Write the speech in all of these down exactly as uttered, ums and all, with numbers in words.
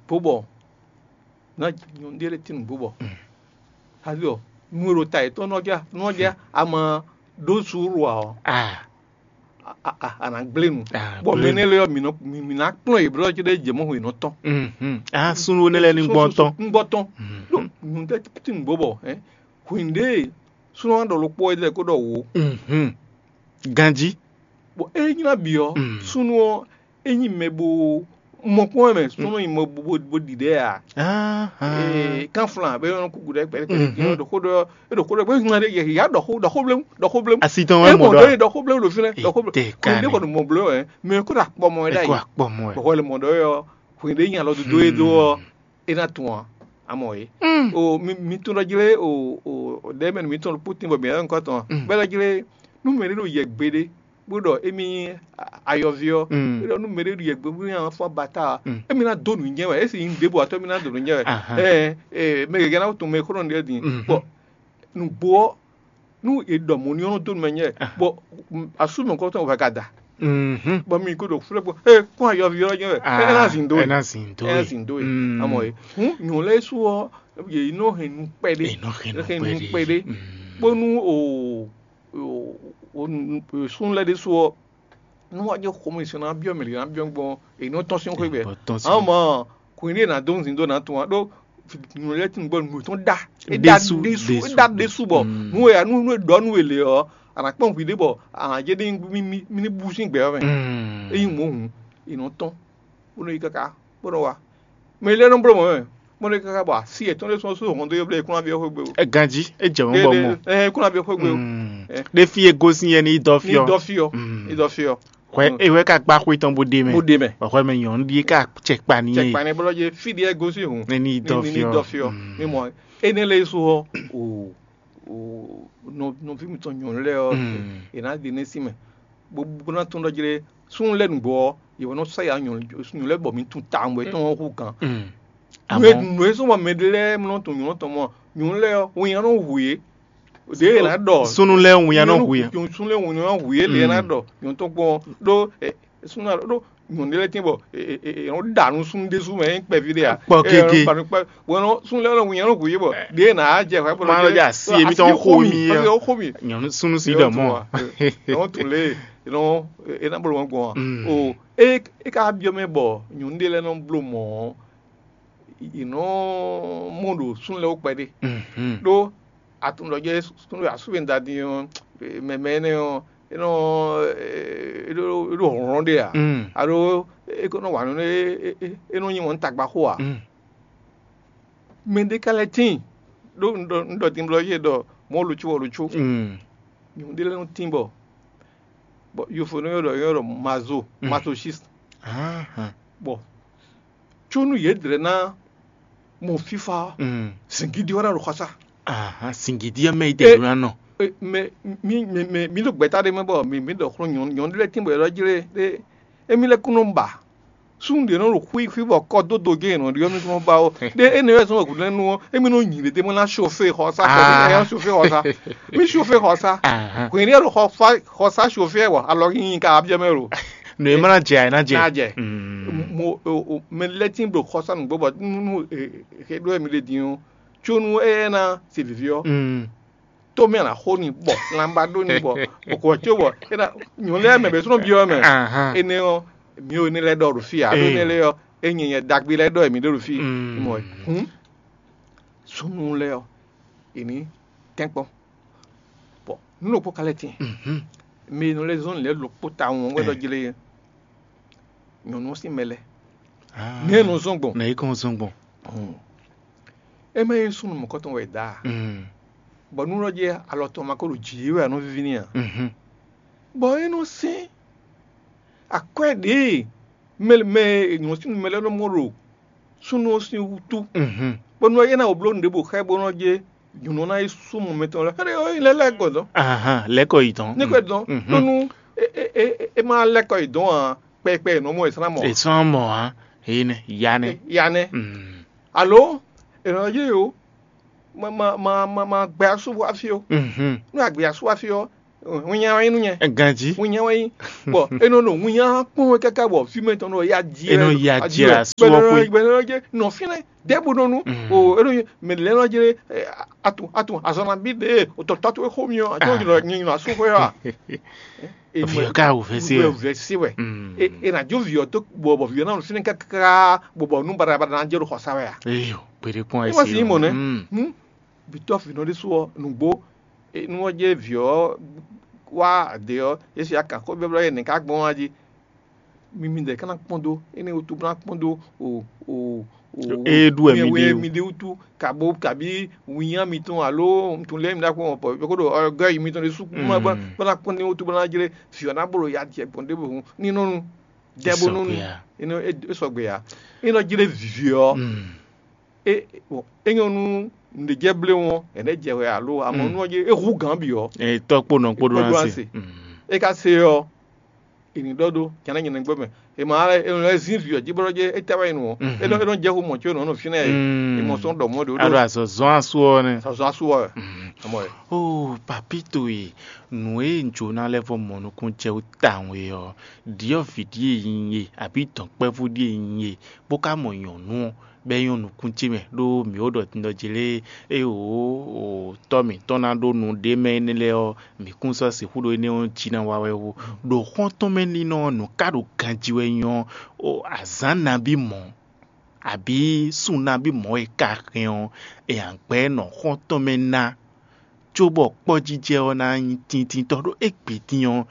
Bó bɔ ná nyɔ̌nu ɖé lɛ́ɛ tín nǔgbó bɔ, azɔ nu e ɖo ta yětɔn nɔ ja nɔ ja ama ɖó suúlu ǎ ɔ́, Ah, a- a- a- a nǎ gblé nu. Ah, Bɔ gblé mɛ nɛ́ lɛ́ɛ ɔ́, mǐ nɔ mǐ mǐ ná kplɔ́n yě blɔ́ cóɖɔ jɛ mɔ̌ hwenu tɔn. mhm. Ah, súnnu énɛ́ lɛ́ɛ ní gbɔn tɔn. Gbɔn tɔn. Ɖó nyɔ̌nu ɖé tín nǔgbó bɔ, hɛn, hwenu ɖé súnnu ɔ́ ɖɔ ɖokpó wɛ lɛ́ɛ kó ɖɔ wǒ. Mhm. Ganjí. Bɔ é nyí ná bǐ ɔ́, Mm. súnnu ɔ́ é nyí mɛ bo mɔ kpɔ́n wɛ mɛ, súnnu nyí mɔ bo bo ɖiɖɛ ǎ. Ah, ah. Ee, kánflán bɛ yɔn kuku ɖe kpɛɖe kpɛɖe Mhm. ɖɔ xó ɖɔ ɖɔ xó ɖɔ bɛ ŋun ɖe yɛ ya ɖɔ xó ɖɔ xó blem ɖɔ xó blem. Asi tɔn wɛ E mɔ mɔ ɖɔ. ɖɔ ye ɖɔ xó blem ɖo fi lɛ ɖɔ xó blem. Ite Ko ne kani. Kɔni mɔ blɔ ɛ, mɛ ko ɖo akpɔ mɔ ɛ ɖa Eko yi. akpɔ mɔ ɛ. Bɔkɔ le mɔ ɖɔ yɔ, ko ne nya lɔ dodo ye do ɔ, e na tun a, amɔ ye. O mi mi tun ɖɔ jlé o o ɖe mɛ mi tun ɖo putin bɔ mi yɛ nkɔ tɔn. Mm. Bɛ ɖɔ jlé nu mɛ ɖe ɖo yɛ gbe ɖe bó ɖɔ émi ayɔvi ɔ. Mm. Bó ɖɔ nu mɛ ɖe ɖo yɛ gbe bó nya fɔ bata. Mm. Émi na do nu nyɛ wɛ, esi yin ɖe bɔ atɔ mi na do nu nyɛ wɛ. Aha. Ɛ ɛ mɛ gɛgɛ na tun mɛ kɔnɔ ɖe din. Mhm. Bɔ nugbo ɔ nu e ɖɔ mo ni ɔnɔ do nu mɛ nyɛ. Bɔ asu mɛ kɔtɔn wɛ ka da. Mhm. Bɔ mi ko ɖo flɛ bɔ ee kɔn ayɔvi ɔ nyɛ wɛ. Ɛ na zin do Ɛ ye. na zin do Ɛ na ye. zin do ye. Mm. Amɔ ye hun nyɔ lɛ su ɔ ye yi nɔ hɛn nu kpɛɖe. Ɛ nɔ hɛn nu Hɛn nu kpɛɖe. Kpɛɖe. Mm. Bonu o o o o sun lɛ ɖe su ɔ nu wa jɛ xɔmɛ sɔn na biɔ mɛ na biɔ gbɔn e nɔ tɔn sin xɔ gbɛ. Bɔ tɔn sin. Amɔ kun ɖe na do zin do na tun a ɖo nyɔ lɛ tun gbɔ nu tɔn da. E Ɖesu, da ɖesu ɖesu, e da ɖesu bɔ mm. nu ya nu nu e ɖɔ nu e le ɔ ana kpɔn hwi ɖe bɔ ana jɛ ɖe mi mi mi ni bu sin gbɛ ɔ mɛ. Mm. Eyi mo hun e nɔ tɔn bó nɔ yi kaka bó nɔ wa mɛ ilé nɔ bló mɔ mɛ bó nɔ yi kaka bɔ asi yɛtɔn ɖé sɔn só hɔn dó yɔ blé kúnlá bí ɔxó gbé o. Ɛ ganji, e jɛ mɔ bɔ mɔ. Ɛ kúnlá bí ɔxó gbé o. Mm. Ɖe fi e gosin yɛ ni dɔ Ní fiɔ. dɔ fiɔ Mm. Ní dɔ fiɔ. Xɔɛ ewɛ ka gba xwe tɔn bo ɖe mɛ. Bó ɖe mɛ. Xɔɛ mɛ nyɔnu ɖi ka cɛ kpa ni Cɛ yɛ. kpanɛ bó lɔ jɛ fi ɖi ɛ gosi hun. Ní dɔ Ní fiɔ. Dɔ fiɔ. Mm. Mi mɔ ene lɛ so hɔ o o nɔ nɔvi mi tɔn nyɔnu lɛ ɔ. Mm. Ena ɖe ne si mɛ bó bó ná tún ɖɔ jlé sún lɛ nǔgbɔ ɔ yewɔ nɔ sa ya nyɔnu nyɔnu lɛ bɔ mi tún ta mɔ etɔn hu gan. Mm. Nue Amɔ nue sɔ mɔ mɛ ɖe lɛ mlɔ tɔn nyɔnu tɔn mɔ nyɔnu lɛ ɔ wo nya nɔ hu ye. De yɛ na ɖɔ sunu lɛ ŋu ya nɔ hu yɛ. Sunu lɛ ŋu ya nɔ hu ye le na Mm. Ɖɔ nyɔnu tɔn gbɔn ɖo sunu na ɖo nyɔnu lɛ tiɛ bɔ e e e nɔ da nu sunu de su mɛ e kpɛ vi de ya. Kpɔ keke. Bɔn sunu lɛ ŋu ya nɔ hu ye bɔ de na jɛ xɔ bɔ Ma lɔ jɛ asi emi tɔn xo mi yɛ. Asi xo mi. Nyɔnu sunu si ɖɔ mɔ. Nɔ tun le nɔ e na bolo mɔ gbɔn. Mm. O e e ka biɔ mɛ bɔ nyɔnu de lɛ nɔ blo mɔ. Inɔ mɔ ɖo sunu lɛ wo kpɛ de. Mhm. Ɖo atun ɖɔ jɛ sunu asúbe da din ɔ mɛmɛ ne ɔ enɔ eɖo eɖo hlɔn ɖe a. Mm. Alo e ko nɔ wa nɔ ne e e e nɔ nyi wɔn tagba xo a. Mm. Mɛ ɖe ka lɛ tin ɖo ŋɖɔ ŋɖɔ din blɔ yé ɖɔ mɔ lutsu wɔ lutsu. Mm. Nyɔnu ɖe lɛ nɔ tin bɔ bɔ yofo nɔ yɔ ɖɔ yɔ ɖɔ mazo Mm. Masochiste. Ahan. Bɔ tsonu yě dlɛ ná mɔ fífá Mm. singidi wɛ ná ɖo xɔsa. Ahan. Singidi ɛ mɛ yi tɛ ɖo na nɔ. Mɛ mi mi mi mi ɖo gbɛta ɖe mɛ bɔ mi mi ɖɔ xlɔ́ nyɔnu nyɔnu ɖe lɛ tin bɔ yɛ ɖɔ jlé ɖe emi lɛ kún nɔ ba. Sun ɖe nɔ ɖo xwí xwí bɔ kɔ dó do gé nɔ ɖiɔ mi kún nɔ ba o. Ɖe ene yɛ sɔn wɛ gǔdo nu ɔ emi nɔ nyi ɖe mɔ ná chauffé xɔsa kɔ Ah. Ɛ chauffé xɔsa. Mi chauffé xɔsa. Ahan. Hwɛn ɖe ɖo xɔsa xɔsa chauffé wɔ alɔ yín ka abiɔ mɛ ɖo. No e ma na jɛ a na jɛ. Na jɛ. Mm. Mo o o mɛ lɛ tin ɖo xɔsa nugbo bɔ nu nu e e ɖo emi ɖe din o. Tsonu eye na se vivi ɔ. Mm. Tó mɛ na xo ni bɔ lamba ɖo ni bɔ okò tso bɔ ena nyɔnu lɛ mɛ bɛ sɔnɔ biɔ mɛ. Ahan. Ene ɔ mi o ne lɛ ɖɔ ɖo fi a ɖo Eh. ne lɛ ɔ enyi yɛ dagbe lɛ ɖɔ mi ɖo ɖo fi. Mm. Mɔ hun sunu lɛ ɔ eni tɛnkpɔn bɔ nu ɖokpó ka lɛ tin Mhm. mi nu lɛ zɔn lɛ ɖokpó ta ŋu wɛ ɖɔ jele nyɔnu si mɛ lɛ Ah. ne nu zɔn gbɔn. Na yi kɔn zɔn gbɔn. Ema ye sunu mɔkɔtɔn wɛ da. Mm. Bɔ nu lɔ jɛ alɔ tɔn ma ko ɖo dzi wɛ anɔ vivi ni a. Mhm. Bɔ e nɔ sɛn akwɛ ɖe mɛ mɛ nyɔnu si mɛ lɛ nɔ mɔ ɖo sunu sin wutu. Mhm. Bɔ nu ye na wò blo nu ɖe bo xɛ bo nɔ jɛ nyɔnu na yi sumɔ mɛ tɔn lɛ xɛ ɖe o yi lɛ lɛ gbɔdɔ. Ahan. Lɛkɔ yi tɔn. Ne kɔ dɔn Mhm. ɖo nu e e e e ma lɛ kɔ yi dɔn a kpɛkpɛ nɔ mɔ esana mɔ. Esɔn mɔ ha. Eyi nɛ ya nɛ. Ya nɛ. Mm. Alo eno ye o ma ma ma ma ma gbɛ asu wa fi o. Mhm. Nu agbɛ asu wa fi o. Wínnyá wɛ nyí nú nyɛ. Ganjí. Wínnyá wɛ nyí. Bɔ é nɔ ɖo wínnyá kpɔ́n wɛ káká bɔ fí mɛ tɔn nɔ ya jí. É nɔ ya jí asú ɔ́ xwé. Gbɛdɔdɔ gbɛdɔdɔ jɛ nɔ fínɛ́ dɛbò nɔ nu. O é nɔ mɛ lɛ nɔ jɛ atu atu azɔnna bí de o tɔtɔ to xó mi ɔ ati o nyɔ nyɔ asú xwé wa. Viyɔ ká wò fɛ sí Wɛ ɛ. Vɛ sí wɛ. E na jó viyɔ tó bɔ bɔ viyɔ náà fínɛ́ káká bɔ bɔ nú badabada ná jẹ́ ɖo xɔsa wɛ a. Eyo, gbede kpɔn Ẹ ɛ wá sí. sí mɔ nɛ. Mm. Hmm. Bitɔ finɔ ɖé sɔ nugbo. Nú ɔ́ jẹ́ vǐ ɔ́ wá ade ɔ́, é si akan xó byɔ́byɔ́ yɛ nɛ̌ ká gbɔn wá jí. Mi mi dɛ̌ ká ná kpɔ́n dó, énɛ́ wútu bó ná kpɔ́n dó o o o É ɖu wɛ mi ɖe o. Mi ɖe wútu kabo kabi winnyá mitɔn alo nutun lɛ́ɛ mi ɖá kpɔ́n pɔ yɔkó ɖo ɔgɔ́ yi mitɔn ɖé sú bó ná kpɔ́n ní wútu bó ná jlé vǐ ɔ́ ná bó ɖo ya jɛ gbɔn ɖěbǔ ní nɔ́nu dɛ bó nɔ́nu. É sɔgbe ya. É nɔ jlé vǐ ɔ́ é é nyɔ́ nú nǔɖé jɛ blé wɔn ɛnɛ jɛ wɛ alo amɔ nú ɔ́ jɛ é hu gǎn bǐ ɔ́. Tɔ́ kpó nɔ kpó ɖó Kpó ɖó ná ná se. se. É ka se ɔ́, è nǐ ɖɔ ɖó jɛnɛ nyɛ nɛgbɛ mɛ. È ma lɛ è nɔ zin vǐ ɔ́ jí bɔ jɛ é tɛ wá yi nɔ. É nɔ é nɔ jɛ xó mɔ tso nɔ nɔ fínɛ. È mɔ sɔn ɖɔ mɔ ɖe ó Aɖo ɖo azɔzɔn asu ɔ́ nɛ. sɔzɔ asu ɔ. Amɔ ɛ. Oh, papito e, nǔ e un jǒ ná lɛ́ vɔ mɔ nukúnnú jɛ wú tawun e ɔ́, ɖyɔ̌vǐ ɖíe nyí e, abǐ dɔ̌nkpɛ́vú ɖíe nyí e, bó ka mɔ nyɔ̌nu ɔ́, bɔ é nyɔ́ nukún ce mɛ, ɖó mǐ ó ɖɔ tindɔ́ ce lée, ée wǒ tɔ́ mǐtɔn ná ɖó nu ɖé mɛ énɛ́ lɛ́ɛ ɔ́, mǐ kún sɔ́ sixú ɖó énɛ́ ɔ́ jí ná wa wɛ ó. Ɖo xɔ́ntɔn mɛ nínɔ ɔ́, nǔ ká ɖo ganjí wɛ nyɔ́ ó, azǎn nabí mɔ̌, abǐ sun nabí mɔ̌ e ka hɛn ɔ́, è nǎ gbɛ́ nɔ xɔ́ntɔn mɛ ná, cóbɔ kpɔ́jijɛ ɔ́ ná nyí tintintɔ́ ɖó égbé din ɔ́,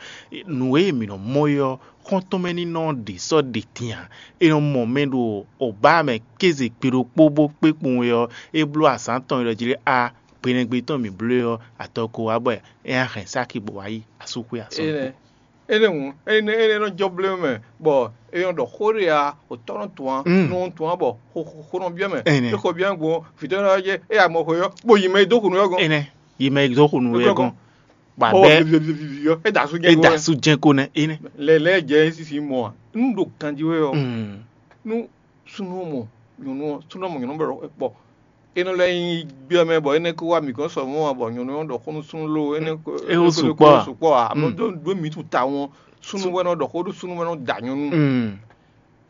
nǔ e mǐ nɔ mɔ é ɔ́, xɔ́ntɔn mɛ ní nɔ ɖě sɔ́ ɖě din ǎ. È nɔ mɔ mɛ ɖo obá mɛ kéze gbe ɖokpó bó kpé kpowun é ɔ́, é bló azǎn tɔn e ɖɔ jí lé a gbenɛgbe tɔn mǐ bló é ɔ́, atɔ ko wá bɔ é ná hɛn sáki bó wá yi asúxwé asɔ́. Énɛ́ énɛ́ hǔn énɛ́ énɛ́ nɔ jɔ blémɛ mɛ bɔ é nɔ ɖɔ xó ɖé a òtɔ́ nɔ tún á nɔ tún á bɔ xó nɔ byɔ́ mɛ. Énɛ́. É xɔ byɔ́ gbɔn vǐtɔ́ nɔ jɛ é ya mɔ xó yɔ bó yi mɛ e dó xunu yɔ gɔn. Énɛ́. Yi mɛ e dó xunu wɛ gɔn. Bɔ Bɔ bɛ́ viviviviviyɔ é da asú jɛ é gɔn da wɛ. Sú jɛ́n kó nɛ énɛ́. Lɛ lɛ jɛ sisi mɔ a nu ɖo ganji wɛ ɔ Mm. nu sunnu mɔ nyɔnu ɔ sunnu mɔ nyɔnu bɛ kpɔ enɔ lɛ nyi biɔ mɛ bɔ enɛ ko wa mi gɔn sɔ mɔ bɔ nyɔnu ɔ ɖɔ xɔnu sunnu lo enɛ ko É wo sukpɔ a? Sukpɔ a ame do do mi tu ta wɔn sunnu wɛ nɔ ɖɔ xɔ ɖo sunnu wɛ nɔ da nyɔnu. Mm.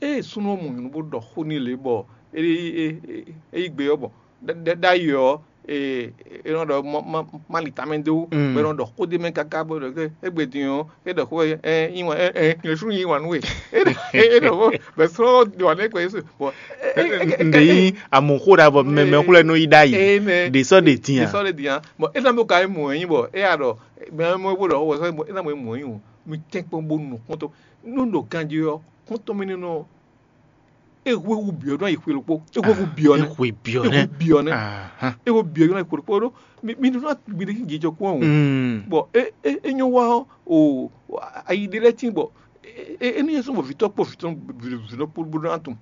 Eye sunnu mɔ nyɔnu bó ɖɔ xó n'i lě bɔ é é é é yi gbe ɔ́ bɔ ɖe ɖe ɖe ayi ɔ́ ee é nɔ ɖɔ ma ma ma li tamɛ dó Mm. bɔ é nɔ ɖɔ xó ɖé mɛ káká bó ɖɔ ké égbé din ɔ́ é ɖɔ xó ɛ ɛ yín wá ɛ ɛ nyɛ sún yín wá nú we é ɖɔ é ɖɔ xó bɛ sɔ́ ɖɔ wà ní ɛgbẹ́ yéṣu bɔ Nde yi amu xó ɖa bɔ mɛmɛ xlɛ nɔ yi ɖa yi. Ɖe sɔ ɖe tiɲa. Sɔ ɖe tiɲa bɔ é nɔ bó ka yi mɔ ɛyin bɔ é yà ɖɔ mɛ mɔ bó ɖɔ xó bɔ sɔ é nɔ bó mɔ ɛyin o mi tɛn kpɔn bó nu kɔntɔ nú ɖo ganji ɔ́ kɔntɔ mi nínú ɔ é hwéhú byɔ̌ nɔ yi xwe ɖokpó é hwéhú byɔ̌ nɛ Exwe biɔ é nɛ. hwé byɔ̌ nɛ Ahan. é hwé byɔ̌ nɔ yi xwe ɖokpó ɖó mi mi ɖó ná mi ɖe jijɔ kpɔn o Mm. bɔn é é é nyɔ wá ɔ o ayi ɖe lɛ tín bɔ é é é ní yẹn sɔn bɔ vitɔ kpɔ vitɔ vitɔ kpɔ bó ná tún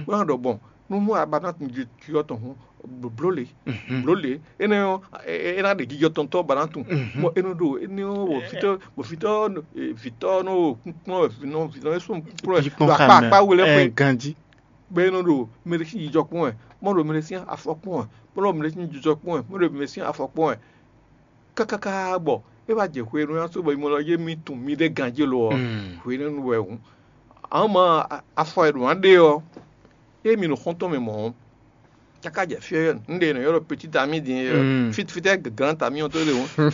bó ná ɖɔ bɔn nú mú aba ná tún ju ju tɔn hún bló le bló le é ná yɔ é é ná ɖe jijɔ tɔn tɔ ba ná tún bɔn é nɔ ɖo é ní yɔ bɔ vitɔ bɔ vitɔ vitɔ nɔ kúnkún vitɔ vitɔ sɔn kúnkún Yi kpɔn akpa xa mɛ. akpa wele Ɛ fún ganji. Bɛn nɔ ɖo mɛɖé sín jijɔ kpɔn wɛ, mɔ ɖo mɛɖé sín afɔ kpɔn wɛ, mɔ ɖo mɛɖé sín jijɔ kpɔn wɛ, mɔ ɖo mɛɖé sín afɔ kpɔn wɛ. Kákáká bɔ é wá jɛ hwenu nya só bɔ imɔ lɔ yé mi tun mi ɖe ganjí lo ɔ, Mm. hwenu wɛ hǔn. Àwọn ma afɔ e ɖo ná ɖe ɔ, é mi ɖo xɔntɔn mɛ mɔ̌. Káká jɛ fí ɔ́, un ɖe nɔ ylɔ́ petit ami din Mm. fit fitɛ grand ami ɔ́ tó ɖe hǔn.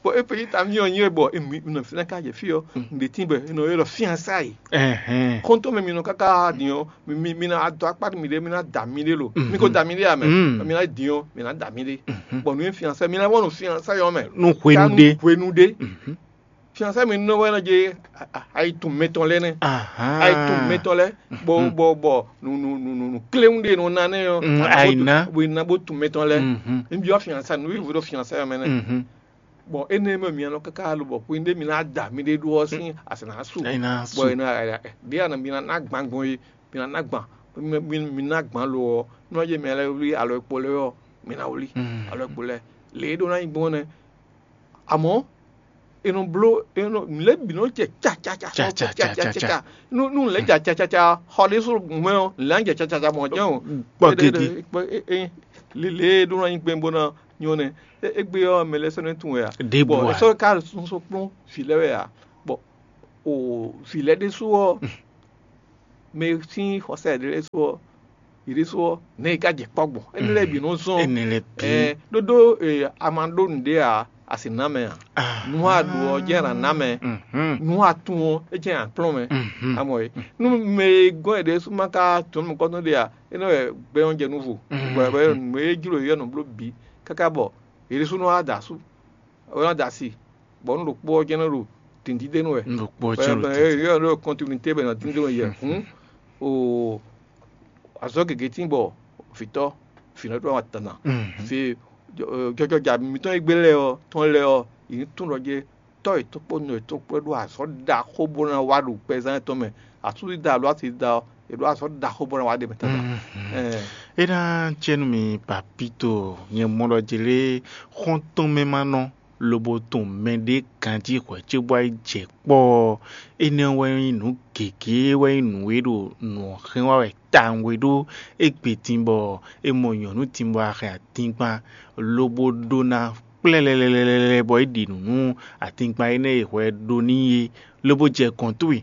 Bɔ é petit ami ɔ́ nyí bɔ mi nɔ fínɛ́ ká jɛ fí ɔ́, un ɖe tín bɔ è nɔ ylɔ́ fiansáyi. Ɛhɛn. Xɔntɔn mɛ mi nɔ káká din ɔ́, mi mi mi na dɔ akpa mi ɖe mi na da mi ɖe lo. Mhm. Mi ko da mi ɖe amɛ. Mm. Mi na din ɔ́, mi na da mi ɖe. Mhm. Bɔn nu ye fiansa mi na wɔn nu fiansa yɔ mɛ. Nu hwenu ɖe. Hwenu ɖe. Mhm. Fiansa mi nɔ wɛ na je ayi tun mɛtɔn lɛ nɛ. Ahan. Ayi tun mɛtɔn lɛ. Bɔ bɔ bɔ nu nu nu nu nu kléwu ɖe nɔ na nɛ yɔ. Mm, ayi na. Bo na bo tun mɛtɔn lɛ. Mhm. N bi wa fiansa nu yi vo ɖo fiansa yɔ mɛ nɛ. Mhm. Bɔn énɛ́ mɛ mia nɔ káká lo bɔ xwin ɖé mi ná da mi ɖé ɖó ɔ́ sín asɛnɛ asú. Ɛna su. Bɔn ɛnɛ ɖé anɔ mi ná gban gbɔn yi mi ná gban mi mi ná gban lo ɔ́ nɔ yé mi lɛ wlí alɔ ekpo lɛ ɔ́ mi ná wlí Mm. alɔ ekpo lɛ lě e ɖó ná nyi gbɔn nɛ. Amɔ̌ è nɔ bló è nɔ lě bǐ nɔ jɛ ca ca ca Ca, ca, ca, ca, ca. Nu nu lě ja ca ca ca xɔ ɖé só mɛ ɔ́ lě jɛ ca ca ca mɔ̌ jɛ́n o. Kpɔ gedi. Lě lě ɖó ná nyi gbɛn bó ná Nyɔ́ nɛ́, égbé ɔ́ mɛ lɛ́ɛ sɔ́ nɛ́ tunwun wɛ ǎ. Bɔ é sɔ́ ka sɔ́ kplɔ́n vǐ lɛ́ɛ wɛ ǎ. Bɔ o vǐ lɛ́ɛ ɖésú ɔ́, mɛ sín xɔsá yěɖée lɛ́ɛ su ɔ́, yě ɖésú ɔ́, nɛ̌ è ka jɛ kpɔ́ gbɔn? Énɛ́ lɛ́ɛ bǐ nɔ́ zɔ́n. Énɛ́ lɛ́ɛ bǐ. Ɛ, ɖó ɖó e, a ma ɖó nǔɖé ǎ, a sǐ ná mɛ ǎ. Nǔ a ɖǒ ɔ́ jɛ́n a nǎ ná mɛ. Nǔ a tunwun ɔ́, é jɛ́n a kplɔ́n mɛ. A mɔ é. Nú mɛ e gɔ́n yě ɖésú ma ka tunwun nukɔntɔn ɖe ǎ, é nɔ wɛ gbɛ ɔ́ jɛ nú vo. Bɔ bɔ nǔ e jló yě ɔ́ nɔ bló bǐ káká bɔ yě ɖésú nɔ wá da asú. Wɛ nɔ da asi, bɔ nú ɖokpó ɔ́ jɛ́n nɔ ɖo dǐndíndénú wɛ. Nú ɖokpó ɔ́ jɛ́n ɖo dǐndín. Yɔ ɖo kɔntinuité bɛ nɔ díndénú yɛ. Hǔn o azɔ̌ gěgé tín bɔ vǐtɔ́ vǐnɔ ɖó wa tana. Fe jɔjɔja mitɔn e gbé lɛ́ɛ ɔ́ tɔn lɛ́ɛ ɔ́, yě ní tún ɖɔ jɛ tɔ́ yětɔn kpó nɔ yětɔn kpó ɖó azɔ̌ ɖaxó bó ná wá ɖo gbɛzán yětɔn mɛ. Asúzida alo asida ɔ́, è ɖó azɔ̌ ɖaxó bó ná wá ɖe mɛ tata. É ná jɛ nú mi papito, nyɛ mɔ ɖɔ jě lé xɔ́ntɔn mɛ ma nɔ lobo tɔn mɛɖé ganjí hwɛ̌ cóbɔ yi jɛ kpɔ́ ɔ́, énɛ́ wɛ nyí nǔ gěgé wɛ nyí nǔ e ɖo nǔ ɔ́ hɛn wá wɛ tawun e ɖó égbé din bɔ é mɔ nyɔ̌nu din bɔ a hɛn atingban lobo ɖó ná kplɛ́lɛlɛlɛlɛ bɔ é ɖi nǔ nú atingban énɛ́ e hwɛ ɖó n'i é, lobo jɛ gɔ̌n towe.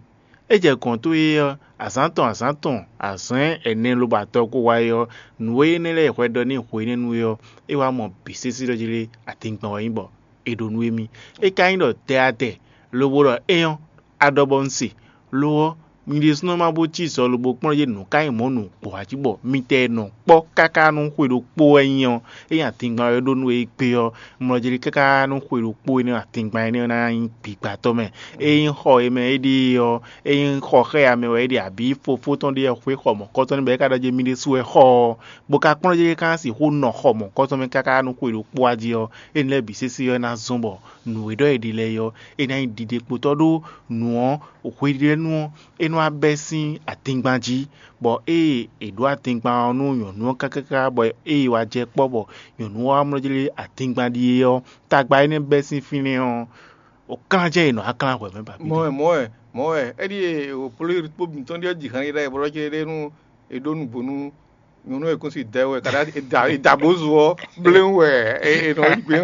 É jɛ gɔ̌n towe ɔ́, azǎn tɔn azǎn tɔn azǎn ɛnɛ lobo atɔn ko wá é ɔ́, nǔ e énɛ́ lɛ́ɛ e hwɛ ɖɔ n'i hwenɛ́nu é ɔ́, é wá mɔ bǐ sésé ɖɔ jí lé atingban wɛ nyí bɔ è ɖo nú émí. É ka nyí ɖɔ tɛatɛ lobo ɖɔ éyɔ́, a ɖɔ bɔ un se. Lo ɔ́, mi ɖésúnɔ ma bó cí zɔ lobo kplɔ́n yě nǔ ka nyí mɔ̌ nǔgbó ǎ jí bɔ mitɛ e nɔ kpɔ́ káká nú xwe ɖokpó wɛ nyí ɔ́, é nyí atingban wɛ ɖó nú é gbé ɔ́, mlɔjlí káká nú xwe ɖokpó énɛ́ atingban énɛ́ ɔ́ ná nyí gbǐgbátɔ́ mɛ. É nyí xɔ e mɛ é ɖe ɔ́, é nyí xɔ xá ya mɛ wɛ é ɖe abǐ fofó tɔn ɖe ɔ́ xwé xɔ mɔ̌kɔ́tɔn n'i bɔ é ka ɖɔ jí mì ɖésú wɛ xɔ ɔ́, bó ka kplɔ́n jí é ka ná sixú nɔ xɔ mɔ̌kɔ́tɔn mɛ káká nú xwe ɖokpó wá jí ɔ́, énɛ́ lɛ́ɛ bǐ sésé ɔ́ é ná zɔ́n bɔ nǔ e ɖɔ è ɖe lɛ́ɛ é ɔ́, é ná nyí ɖiɖe kpotɔ́ ɖó nǔ ɔ́, hweɖénu ɔ́, é nɔ wá bɛ́ sín atingban jí, bɔ ée è ɖǒ atingban ɔ́ nú nyɔ̌nu ɔ́ kákáká, bɔ ée wá jɛ kpɔ́ bɔ nyɔ̌nu ɔ́ wá mlɔ́ jlé atingban ɖíe ɔ́, tagba énɛ́ bɛ́ sín fínɛ́ ɔ́, wǒ klán jɛ́n è nɔ wá klán hwɛ̌ mɛ ba. Mɔ̌ wɛ, mɔ̌ wɛ, mɔ̌ wɛ. É ɖíe wǒ pló kpó mitɔn ɖíe ɔ́ ji han yi ɖa e blɔ́ cé ɖé nú è ɖó nǔgbó nú nyɔ̌nu e kún si dɛ wɛ, kaɖa è da è da bó zo ɔ́, bléwún wɛ è è nɔ yi gbé.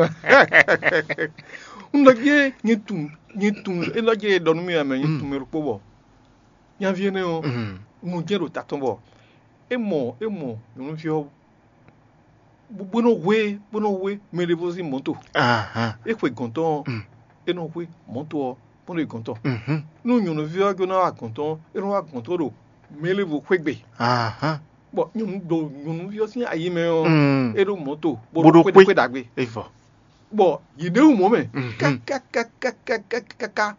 Un ɖɔ jɛ́n nyɛ tunwun nyɛ tunwun é ɖɔ jɛ́n è ɖɔ nú mì wɛ mɛ nyɛ tunwun mɛ ɖokpó bɔ nyaví énɛ́ ɔ́, un jɛ́n ɖo ta tɔn bɔ é mɔ é mɔ nyɔ̌nuví ɔ́ bó bó nɔ hwe bó nɔ hwe mɛ ɖěvo sín mɔ̌to. É xwe gɔ̌n tɔn ɔ́, é nɔ hwe mɔ̌to ɔ́ bó nɔ yi gɔ̌n tɔn. Nú nyɔ̌nuví ɔ́ jló ná wá gɔ̌n tɔn ɔ́, é nɔ wá gɔ̌n tɔn ɖo mɛ ɖěvo xwé gbe. Bɔ nyɔ̌nu ɖo nyɔ̌nuví ɔ́ sín ayi mɛ ɔ́, é ɖó mɔ̌to bó Bó ɖó ɖó xwé xwé. Xwé ɖagbe. É vɔ. Bɔ yě ɖe wú mɔ̌ mɛ kákákákákákáká.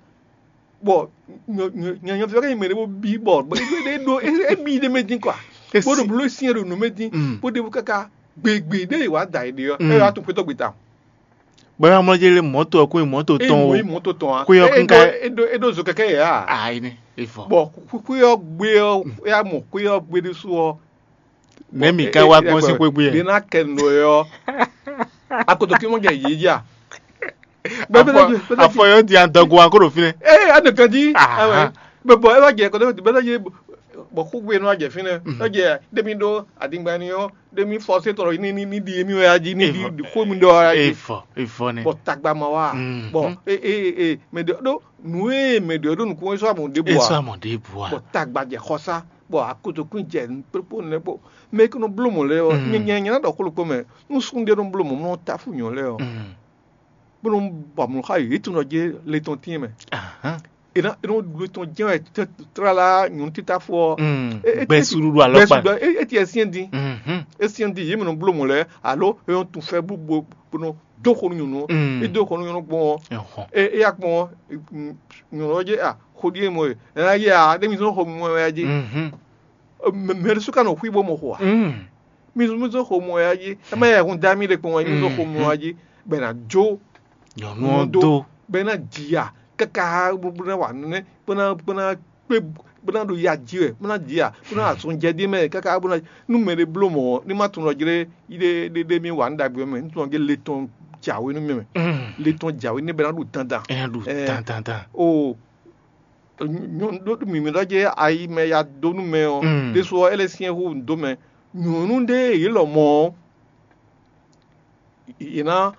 Bɔ nyɔ̌nyɔ́ví ɔ́ ka nyí mɛ ɖé bó bí bɔ bɔ é ɖó é bí ɖ'é mɛ dín kɔa. Bó ɖo bló syɛ́n ɖo nǔ mɛ dín bó ɖěbǔ káká gběgbě ɖé e wǎ da è ɖe ɔ́, é wá tún xwetɔ́ gbe tawun. Bɔ é wá mlɔ́ jɛ lé mɔ̌to ɔ́ kó nyí mɔ̌to tɔn o. Mɔ̌ yi mɔ̌to tɔn a Xwé ɔ́ kún ka é ɖó é ɖó zo kɛkɛ yɛ a. Ayi nɛ é vɔ. Bɔ xwé ɔ́ gbé ɔ́ é wá mɔ xwé ɔ́ gbé ɖésú ɔ́. Nɛ̌ mǐ ka wá gbɔn sín xwé gbé? Ɖě ná kɛ nǔ ɔ́, akotokí mɔ jɛ yě jí a? Afɔ yɔ di adɔgo wa kó ɖo fínɛ́. Ee, a nɔ kan jí. Bɛ bɔ ɛ wá jɛ kɔtɔ bɛ lɔ yé bɔ xúgbé nɔ jɛ fínɛ́ lɔ jɛ ɖémi ɖó adingba ni ɔ́ ɖémi fɔ sé tɔrɔ ní ní ní di émi wɛ ají ní di xó mi ɖɔ ají. Efɔ efɔ nɛ. Bɔ tagba ma wá bɔ ee ee ee mɛ ɖe ɖó nǔ e mɛ ɖe ɖó nukún esɔ amɔ ɖe bɔ Esɔ a amɔ ɖe bu a. Bɔ tagba jɛ xɔsá bɔ akotokún jɛ kpókpó nɛ bɔ mɛ kí nɔ bló mɔ lɛ ɔ nyɛ nyɛ nyɛ na ɖɔ kóló kpó mɛ nú sún ɖé nɔ bló mɔ mɔ tafu nyɔ lɛ ɔ bó nɔ bɔ amlɔ xa yě tún nɔ jɛ le tɔn tín mɛ. Ahan. E nɔ e nɔ ɖu le tɔn jɛ wɛ tlala nyɔnu tita fɔ. Mm. E- e- Gbɛ e- suɖuɖu alɔkpa. Gbɛ suɖu e- eti ɛsiɛn di Mhm. Esiɛn di yě mɛ nɔ bló mɔ lɛ alo e nɔ tun fɛ bó bó bó nɔ dó xɔ nú nyɔnu. Mm. E dó xɔ nú nyɔnu gbɔn. Ɛhɔn. E e ya gbɔn nyɔnu ɔjɛ a xɔ ɖi e mɔ e ɛna yɛ a ɖe mi sɔn xɔ mɔ ya dzi. Mhm. Mɛ ɖésú ka nɔ xwí bó mɔ xɔ a. Mm. Mi zɔn mi zɔn xomɔ ya jí. Ɛ má yɛ hun dá mi ɖe kpɔn wɛ mi zɔn xomɔ ya jí. Bɛ na jó Nyɔnu ɔ́ dó. Bɛ na jìyà káká bó ná wà nɛnɛ bó ná bó ná kpé bó ná ɖo ya jí wɛ bó ná jìyà bó ná azɔn jɛ dí mɛ káká bó ná nú mɛ ɖé bló mɔ ní má tunɔ jlé yi ɖé ɖé ɖé mi wà ní ɖagbe mɛ ní tunɔ jlé le tɔn jàwé nú mi mɛ. Le tɔn jàwé ní bɛ ná ɖo dandan. Ɛ ɖo Ɛ. Dandan dan. O nyɔnu ɖó mǐmí ɖɔ jɛ ayi mɛ ya dó nú mɛ ɔ́ Mm. Ɖésú ɔ́ é lɛ́ syɛ́n hú dó mɛ nyɔ̌nu ɖé yě lɔ mɔ ɔ́ Yě ná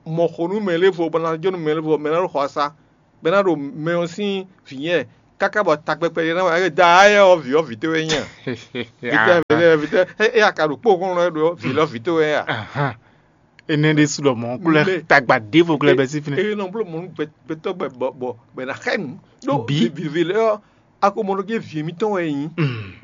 mɔ xo nú mɛ lé vo, bɔ ná jó nú mɛ lé vo, mɛ ná ɖo xɔ asá, bɔ é ná ɖo mɛ ɔ́ sín vǐ nyɛ, káká bɔ takpɛkpɛ ɖé ná wá da ayɛ ɔ́ vǐ ɔ́ vǐ towe nyí a? Vítɛ vítɛ vítɛ é aka ɖo kpó kɔn lɔ ɖo vǐ lɔ vǐ towe a? Énɛ́ ɖésú ɖɔ mɔ̌ kúlɛ tagba ɖěvo kúlɛ bɛ sí fínɛ́. Eye nɔ bló mɔ̌ nú gbɛtɔ́ gbɛ bɔ bɔ bɛ ná xɛ nǔ ɖó Bǐ. Vǐvǐ lɛ ɔ́, a ko mɔ ɖɔ jɛ vǐ mǐtɔn wɛ é nyí,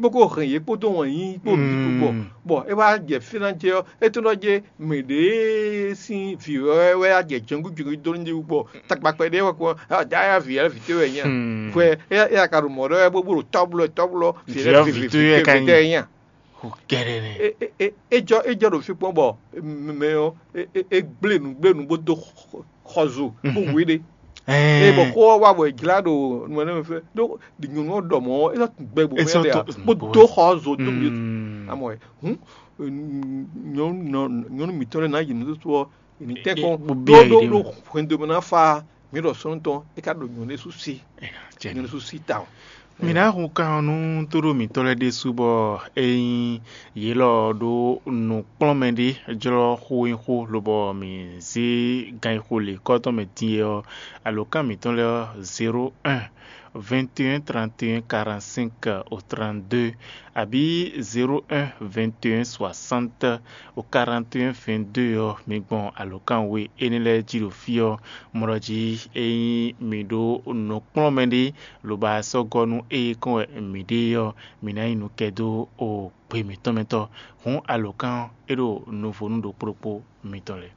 bó ko hɛn yě kpódó wɛn nyí kpó bǐ kpó bɔ bɔ é wá jɛ fínɛ́ jɛ ɔ́, é tó nɔ jɛ mɛ ɖě sín vǐ wɛ wɛ á jɛ jɛngbíjɛngbí dó ní bɔ takpakpɛ ɖé wɛ kó da ya vǐ ya vǐ towe wɛ nyí a? Hwɛ é ya ka ɖo mɔ̌ ɖɔ wɛ bó bó ɖo tɔ́blɔ tɔ́blɔ vǐ lɛ Vǐ ɔ́ vǐ vǐ towe wɛ ka nyí. Vǐ towe nyí a? Xo kɛɖɛ nɛ. É jɔ é jɔ ɖo fí kpɔ́n bɔ mɛ ɔ́ é gblé nǔ gblé nǔ bó dó xɔzo bó wé ɖé. Ée bɔ xó ɔ́ wá bɔ è jlá ɖo nǔ ɛnɛ mɛ fɛ ɖó nyɔ̌nu ɔ́ ɖɔ mɔ̌ ɔ́, é sɔ́ tunwun gbɛ gbogbo Esɔ mɛ ɖe ǎ, to- bó dó xɔ ɔ́ dó mì. Amɔ ɛ hǔn nyɔ̌nu nyɔ̌nu mǐtɔn lɛ́ɛ ná yi nǔɖuɖu ɔ́, è nǐ tɛ́nkpɔ́n Bó ɖó byɔ́ yě ɖó ɖé ɖó mɛ. Hwɛndo mɛ ná fa mǐ ɖɔ sɔ́nútɔn é ká ɖo nyɔ̌nu sú sí Jɛ nyɔ̌nu sú sí ta o. Mǐ ná hun kan ɔ́ nú tóɖó mǐtɔn lɛ́ɛ ɖésú bɔ é nyí yě lɔ ɖó nǔkplɔ́nmɛ ɖé jlɔ́ xó e xó lobɔ mǐ zé gan e xo lě kɔ́ tɔn mɛ din é ɔ́, alǒkan mǐtɔn lɛ́ɛ ɔ́, zéro un, vingt et un, trente et un, quarante-cinq au trente-deux, abǐ zéro un, vingt et un, soixante au quarante et un, vingt-deux ɔ́, mi gbɔn alǒkan we énɛ́ lɛ́ɛ jí ɖo fí ɔ́, mɔ ɖɔ jí ényí mi ɖó nǔkplɔ́nmɛ ɖé, lobo a sɔ́ gɔ́ nú ée kɔn wɛ mǐ ɖe ɔ́, mǐ ná nyí nǔ kɛ dó o gbe mǐtɔn mɛ tɔn. Hǔn alǒkan ɔ́, é ɖo nuvo nú ɖokpó ɖokpó mitɔn lɛ́ɛ.